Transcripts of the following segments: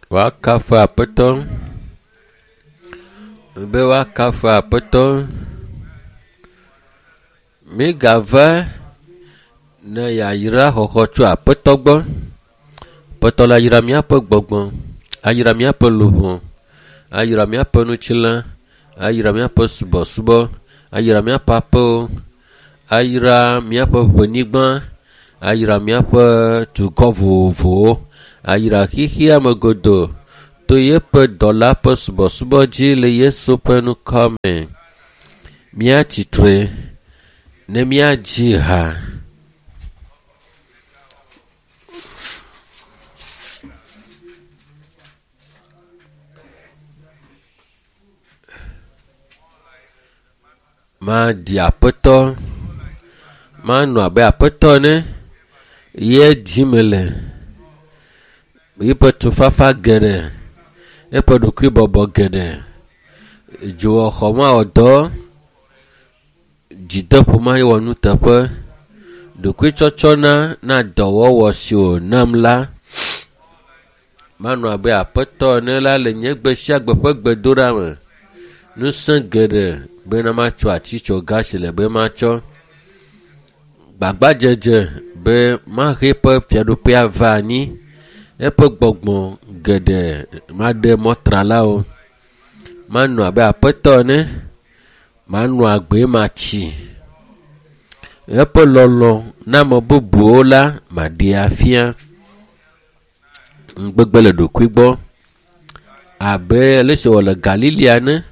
Woakafu Aƒetɔ. Be woakafu Aƒetɔ. Migava ne yayra xɔxɔ tso Aƒetɔ gbɔ. Aƒetɔ la yra míaƒe gbɔgbɔ, ayra míaƒe luʋɔ, ayra míaƒe ŋutilã, ayra míaƒe subɔsubɔ, ayra míaƒe aƒewo, ayra míaƒe ʋenyigba, ayra míaƒe dukɔ vovovowo, ayra xexea me godoo to yeƒe dɔla ƒe subɔsubɔ dzi le Yesu ƒe ŋkɔ me. Míatsitre ne míadzi ha. Maɖi Aƒetɔ, manɔ abe Aƒetɔ ene ye dim mele. Yiƒe tufafa geɖe, eƒe ɖokuibɔbɔ geɖe, dzowɔxɔ mawɔ dɔ, dzideƒo mawɔ nuteƒe, ɖokuitsɔtsɔna na dɔwɔwɔ si wònam la. Manɔ abe Aƒetɔ ene la le nye gbe sia gbe ƒe gbedoɖa me. Ŋusẽ geɖe bena matsɔ atitsoga si le be matsɔ. Gbagbadzedze be mahe eƒe fiaɖuƒea va anyi. Eƒe gbɔgbɔ geɖe maɖe mɔtralawo. Manɔ abe Aƒetɔ ene. Manɔ agbe matsi. Eƒe lɔlɔ na ame bubuwo la maɖee afia. Ŋugbegbe le ɖokui gbɔ abe ale si wòle Galilea ene.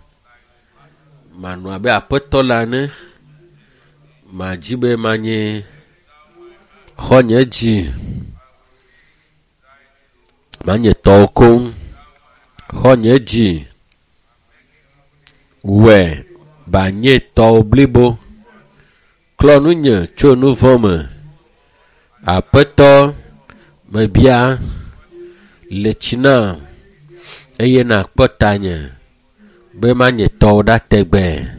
Manɔ abe Aƒetɔ la ene. Madzi be manye xɔnye dzi. Manye tɔwò koŋ. Xɔnye dzi. Wɔe banye tɔwò blibo. Klɔ nunye tso nu vɔ̃ me. Aƒetɔ, mebia le tsi nam eye nàkpɔ tanye be manye tɔwò ɖa tegbee.